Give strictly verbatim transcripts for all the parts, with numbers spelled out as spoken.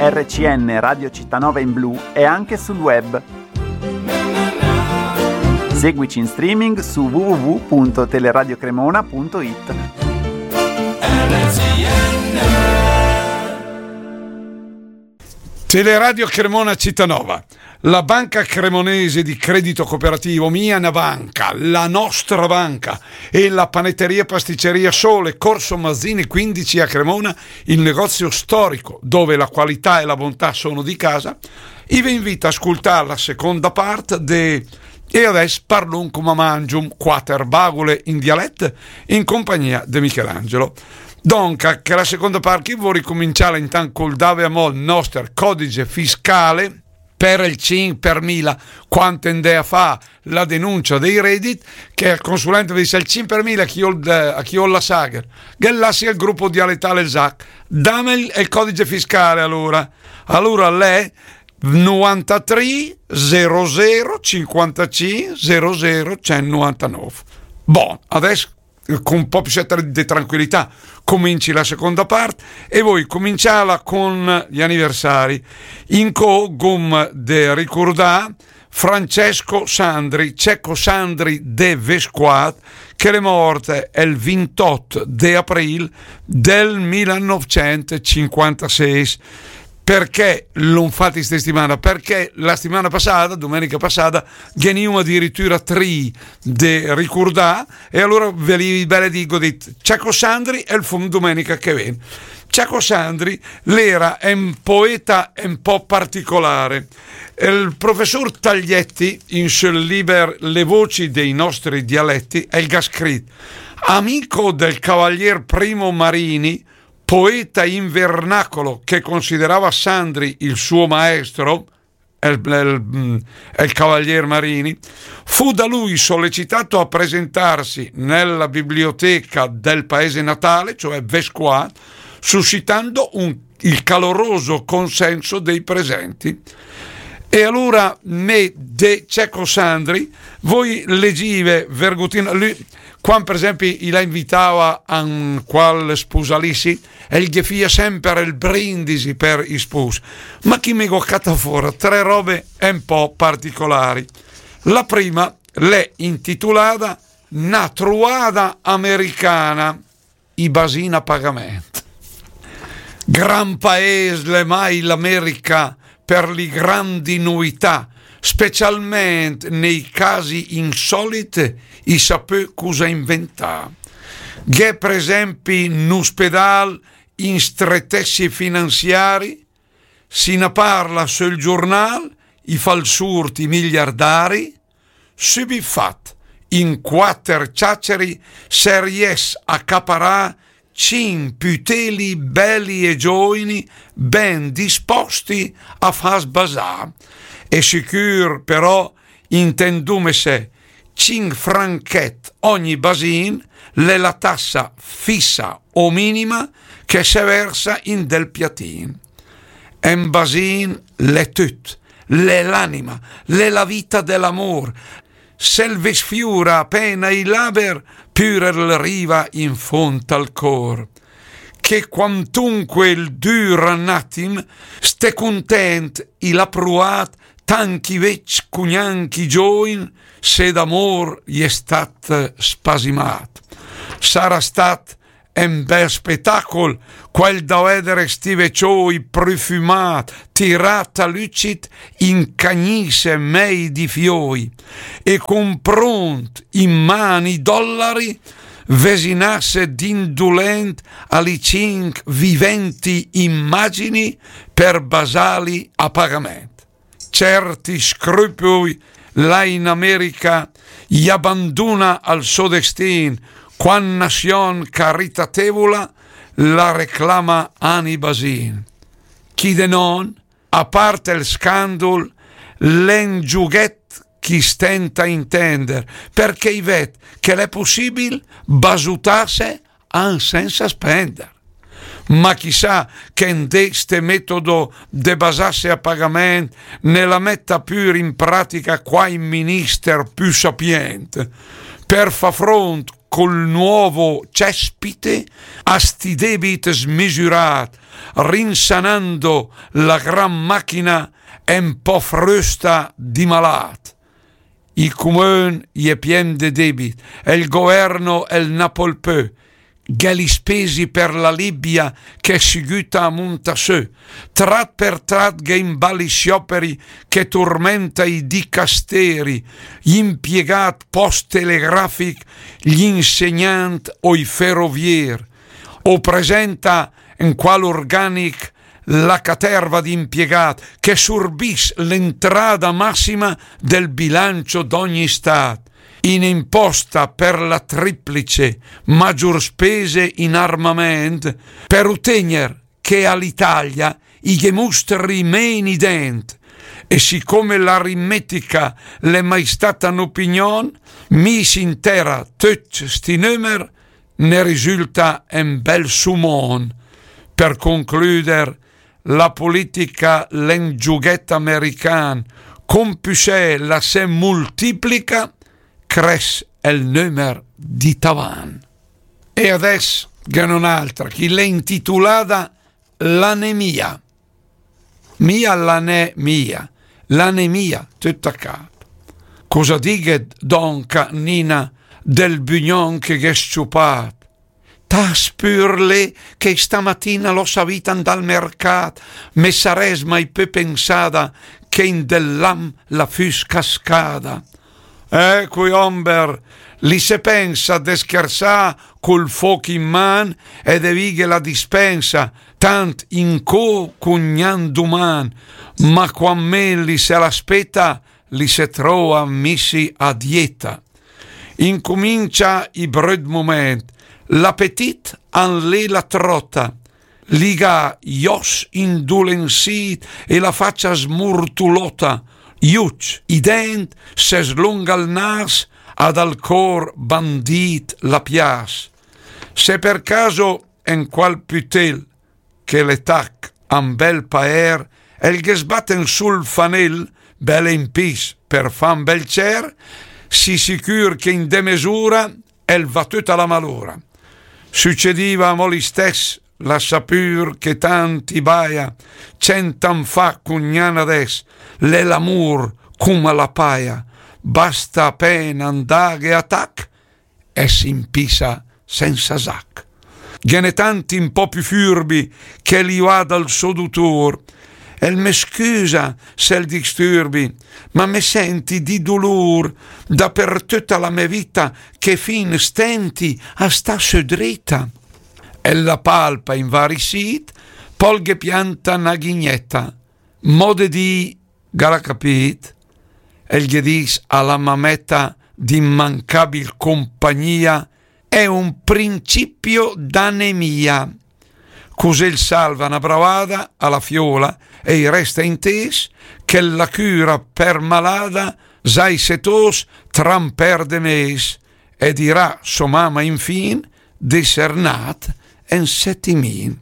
R C N Radio Città Nova in blu è anche sul web. Seguici in streaming su w w w punto teleradio cremona punto it. Teleradio Cremona Città Nova. La banca cremonese di credito cooperativo, mia na banca, la nostra banca, e la panetteria pasticceria Sole, Corso Mazzini quindici a Cremona, il negozio storico dove la qualità e la bontà sono di casa, i ve invita a ascoltare la seconda parte de E adess parlum cumò mangium, quater bagule in dialett, in compagnia de Michelangelo. Donca, che la seconda part, che vöri cumincià intant col dave amò el noster codice fiscale, per el cinch per mila, quant andè a fà la denuncia dei redit, che el consulente ve dis: "El cinch per mila a chi öl, a chi öl la sagher?" Ghe lassi el gruppo dialettale el Zac. Dam el, el codice fiscale alora. Alora l'è novantatrì zero zero cinquantacinc zero zero centonovantanove. Bon, adess con un po' più de tranquillità, cominci la seconda part e vöi cominciarla con gli anniversari. Incö gh'öm de ricurdà Francesco Sandri, Cecco Sandri de Vesquat, che l'è mort el vintot de april del millenovecentcinquantaseis. Perché l'öm fat in sta stimana? Perché la stimana passada, domenica passada, ghe n'ìum adiritura tri de ricurdà, e alora ve li, ve li digo, dit, Cecco Sandri el fum domenica che vegn. Cecco Sandri l'era un poeta un po' particolare. El professor Taglietti, in sö el liber Le voci dei nostri dialetti, el gh'ha scrit: "Amico del cavalier Primo Marini, poeta in vernacolo che considerava Sandri il suo maestro", el, el, mm, el cavalier Marini, fu da lui sollecitato a presentarsi nella biblioteca del paese natale, cioè Vesquat, suscitando un, il caloroso consenso dei presenti. E alora me de Cecco Sandri, vöi legive vergotin, lü, quand per esempi i la invitava a un qual spusalissi, el ghe fia semper el brindisi per i spus. Ma chi me gh'ó catà fora tre robe un po' particolari. La prima l'è intitulada Na truada americana, i basin a pagament. Gran paes l'è mai l'America per li grandi nuità, specialment nei casi insolit i sa pö cusa inventà. Gh'è per esempi n'uspedal in stretessi finanziari, si na parla söl giurnal, i fa 'l surt i miliardari, sübit fat, in quater ciaceri se ries a caparà cinch püteli beli e giovini ben disposti a fas basà. E sicür però, intendumese, cinch franchet ogni basin l'è la tassa fissa o minima che se versa in del piatin. En basin l'è tüt, l'è l'anima, l'è la vita de l'amor. Se 'l ve sfiura apena i laber, pür el riva in fond al cor. Che quantunque el düra n'atim, ste cuntent i l'ha pruat, tant chi vecc cugnanc i giovin, se d'amor i è stat spasimat. Sarà stat en bel spetacol quel da vedere sti vecioi prüfümat, tirat a lücit in cagnise mei di fioi, e cun prunt in man i dollari, vesinasse d'indulent a li cinch viventi immagini per basali a pagament. Certi scrüpüi là in America i abanduna al so destin, quan nazion caritatevula la reclama ani basin. Chi de non, a part el scandul, l'è 'n giughet chi stenta intender, perché i ved che l'è pussibil basutasse an sensa spender. Ma chissà che 'n de ste metodo de basasse a pagament ne la metta pür in pratica quai minister pü sapient, per fa front col nuovo cespite a sti debit smisürat, rinsanando la gran machina en pò frösta di malat. I cumön i è pien de debit, el governo el na pol pö, gh'è li spesi per la Libia che seguta a munta sö, trat per trat gh'è in bal i sioperi che turmenta i dicasteri, gli impiegat post telegrafic, gli insegnant o i ferovier. O presenta en qual organic la caterva di impiegat che surbis l'entrada massima del bilancio d'ogni stat. In imposta per la triplice magior spese in armament per utegner che all'Italia i ghe mustri meni dent. E sicome l'aritmetica l'è mai stata n'opinion, mi s'intera töcc sti nömer ne risulta en bel sumon. Per concluder, la politica l'è 'n giughèt american, compüsè la se multiplica, cres el nömer di tavan. E adès gh'è n'altra, chi l'è intitulada l'anemia. Mia l'anemia, l'anemia, töt a cap. Cosa dighet donca Nina del bugnon che gh'è sciupat? T'as pur lé che stamatina l'ho savita 'ndà al mercat, me sarès mai pö pensada che in del lam la füs cascada. Eh, cui omber, li se pensa de schersà cul foc in man e de vighe la dispensa, tant incö cugnan duman, ma quan me li se l'aspeta, li se trova misi a dieta. Incumincia i bröt moment, l'apetit an lé la trota, li gh'à i os indulensit e la facia smurtulota, i ucc, i dent, se slunga il nas, ad al cor bandit la pias. Se per caso en qual pütel che l'è tac a 'n bel paer, el ghe sbat en sul fanel, bel in pis per fà 'n bel cer, si sicür che in de mesura el va töt a la malura. Sucediva amò listess, lassa pur che tant i baia, cent an fa cugnan adess, l'è l'amur cuma la paia, basta apena 'ndaghe a tac e s'impisa sensa zac. Ghe n'è tanti un po' più furbi che li va dal so dutur. El me scusa se el disturbi, ma me senti di dulur dapertöt a la me vita che fin stenti a sta sö drita. El la palpa in vari sit, pol ghe pianta na ghigneta. Mode di, ga la capit? El ghe dis a la mameta di mancabil compagnia, è un principio d'anemia. Cusì el salva na bravada a la fiola e i resta intes che la cura per malada zai se tos tramper de mes e dirà so mama infin d'esser nat en setimin.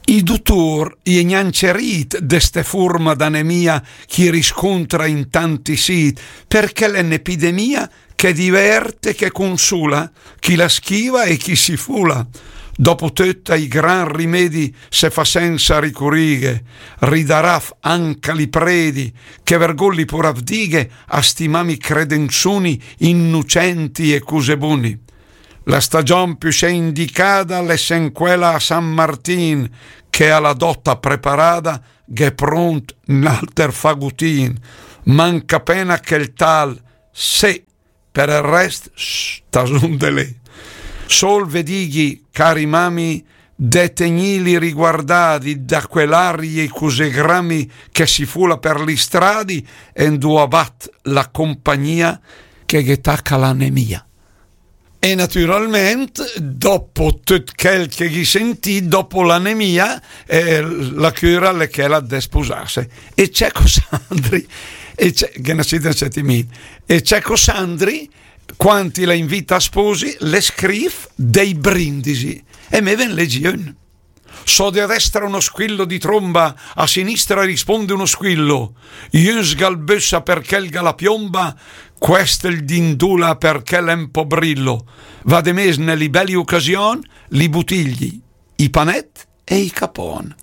I dutur i è gnanca rit de ste furma d'anemia chi riscontra in tanti sit, perché l'è n'epidemia che diverte, che consula chi la schiva e chi si fula. Dopo tötta i gran rimedi se fa sensa ricurighe, ridaraf anca li predi che vergolli pur avdighe a sti mami credenzuni innucenti e cusebuni. La stagion più se indicada l'è sen quela a San Martin, che a la dota preparada gh'è pront n'alter fagutin. Manca pena che el tal se, per el rest, sh, tasun de lé. Sol ve dighi, cari mami, de tegnili riguardadi da quell'arie cusì grami che si fula per li stradi e 'nduà bat la compagnia che ghe taca l'anemia. E naturalment, dopo töt quel che gh'ì sentì, dopo l'anemia, eh, la cura l'è quella de spusarse. E Cecco Sandri, e Cecco Sandri, quanti la invita a sposi, le scrif dei brindisi. E me ven leggi un. So de a destra uno squillo di tromba, a sinistra risponde uno squillo. Ü sgalbössa perché el ga la piomba, quest el dindula perché l'è un po' brillo. Va de mes ne li belli ocasion, li butigli, i panet e i capon.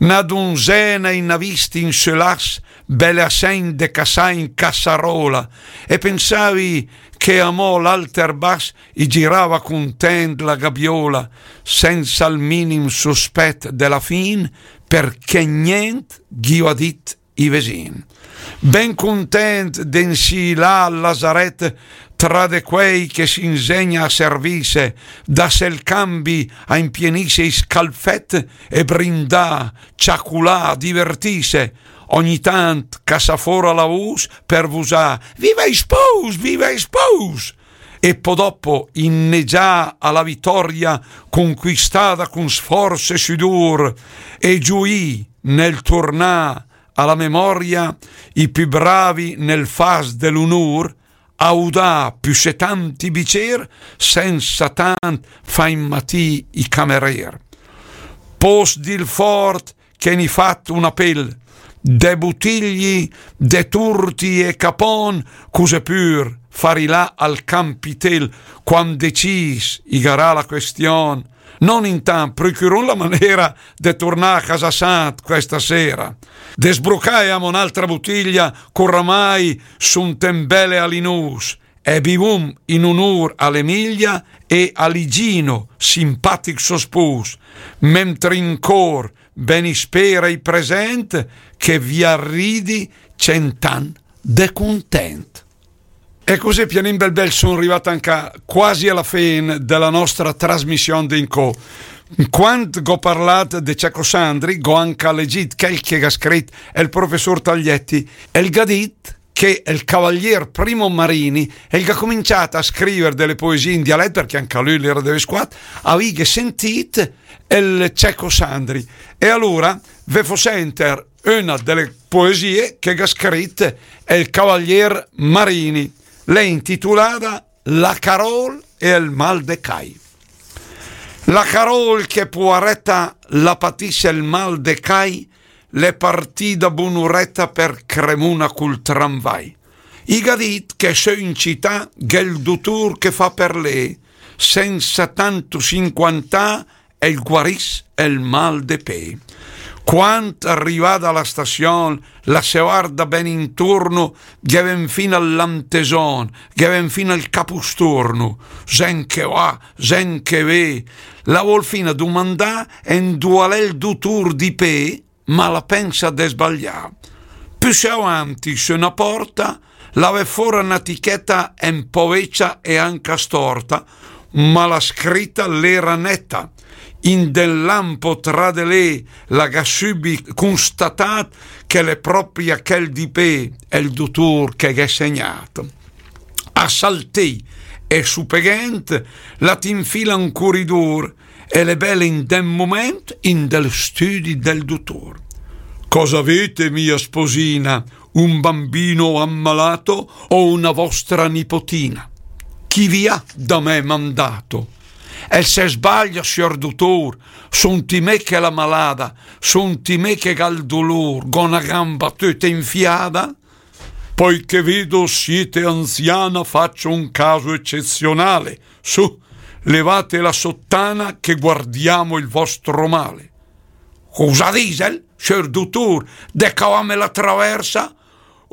Na dunzena i n'à vist in sö lass, bele a segn de cassà in cassarola, e pensavi che amò l'alter bass i girava cuntent la gabiola, senza il minim suspet de la fin, perché nient ghi ua dit i vesin. Ben cuntent de 'nsì là al lazaret, tra de quei che s'inzegna a servisse, dasse il cambi a impienisse i scalfet e brindà, ciaculà, divertisse, ogni tant cassà fora la vus per vusà: "Viva i spus, viva i spus!" E po dopo innegià a la vitoria cunquistada cun sforz e sudur, e giuì nel turnà a la memoria i più bravi nel fas de l'unur, a udà più se tanti bicer, senza tant fa inmatì i camerer. Pos dil fort che n'ì fat un apel, de butigli, de turti e capon, cus'è pur, fari là al campitel, quand decis i garà la question, non intant, procurun la manera de turnà a casa sant questa sera, de sbrucà e amò un'altra butiglia, ch'oramai sun ten bele a l'inus, e bivum in unur a l'Emilia e a Ligino, simpatic so spus, mentri in cor ben i spera i present, che via ridi cent'an de cuntent. E cusì, pianin bel bel, son rivat anca quasi a la fin de la nostra trasmission de incò. Quand gh'ò parlat de Cecco Sandri, gh'ò anca legit chel che gh'à scrit el professor Taglietti, el gh'à dit che el cavalier Primo Marini, el gh'à cominciat a scriver de le poesie in dialet, perché anca lü l'era de Vesquat, avìghe sentit el Cecco Sandri. E alura ve fo senter una de le poesie che gh'à scrit el cavalier Marini. L'è intitulada La Carol e el mal de cai. La Carol, che puareta la patisse el mal de cai, l'è partida bunureta per Cremuna cul tramvai. I gh'à dit che sö in cità gh'è el dutur che fa per lé, senza tantu s'inquantà, el guariss el mal de pé. Quand rivada a la stassion, la se varda ben inturnu, ghe ven fina el lanteson, ghe ven fina el capusturnu, gent che va, gent che ve, la vol fina dumandà endua l'è el dutur di pé, ma la pensa de sbaglià. Püssé avanti, sö na porta, la ve fora na ticheta en po vecia e anca storta, ma la scrita l'era neta. In del lampo tra de lé la gh'à sübit cunstatat che l'è propria chel di pé, el dutur che gh'è segnat. A saltì e supeghent la t'infila in curidur, e l'è bele in del moment in del stüdi del dutur. Cosa avete, mia sposina, un bambino ammalato o una vostra nipotina? Chi vi ha da me mandato? El se sbaglia, sior dutur, sunt i me che l'è malada, sunt i me che gh'à el dulur, gh'ò na gamba töta infiada. Poiché vedo siete anziana, faccio un caso eccezionale. Su, levate la sottana che guardiamo il vostro male. Cosa disel, sior dutur, de cavame la traversa?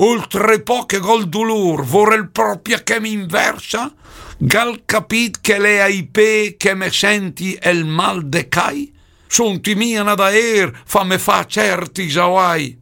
Oltre pò che gh'ò el dulur, vorel propria che m'inversa? Gh'al capit che l'è ai pé che me senti el mal de cai? Sunt i mia na daer, fame fa certi zaguai.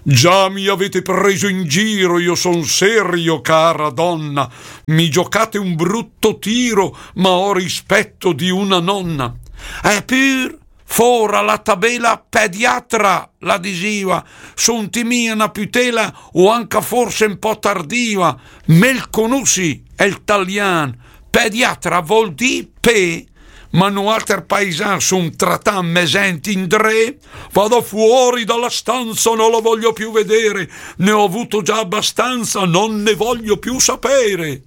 Già mi avete preso in giro, io son serio, cara donna, mi giocate un brutto tiro, ma ho rispetto di una nonna. Epür, fora la tabela pediatra, la disiva, sunt i mia na pütela o anca forse un po' tardiva, me 'l cunussi el talian, pediatra vol dì pé, ma nualter paisan sum tratà me sent indré, vado fuori dalla stanza, non la voglio più vedere, ne ho avuto già abbastanza, non ne voglio più sapere.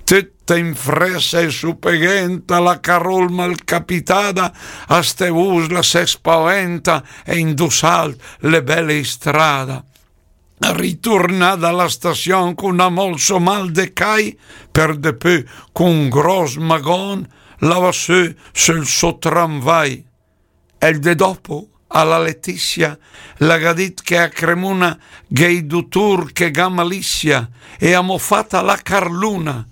Tüta in fressa e supeghenta, la Carol malcapitada, a ste vus la se spaventa e in du salt l'è bele istrada. Riturnada a la stazion cun amò 'l so mal de cai, per de pö cun gros magon la va sö sul so tramvai. El dé dopo, a la Letizia, la gh'à dit che a Cremuna gh'è i dutur che gh'à malizia e a m'ó fata la carluna.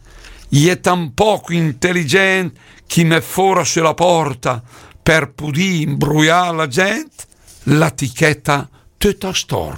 I è tan poco inteligent chi mèt fora sö la porta per pudì imbruià la gent la ticheta töta storta.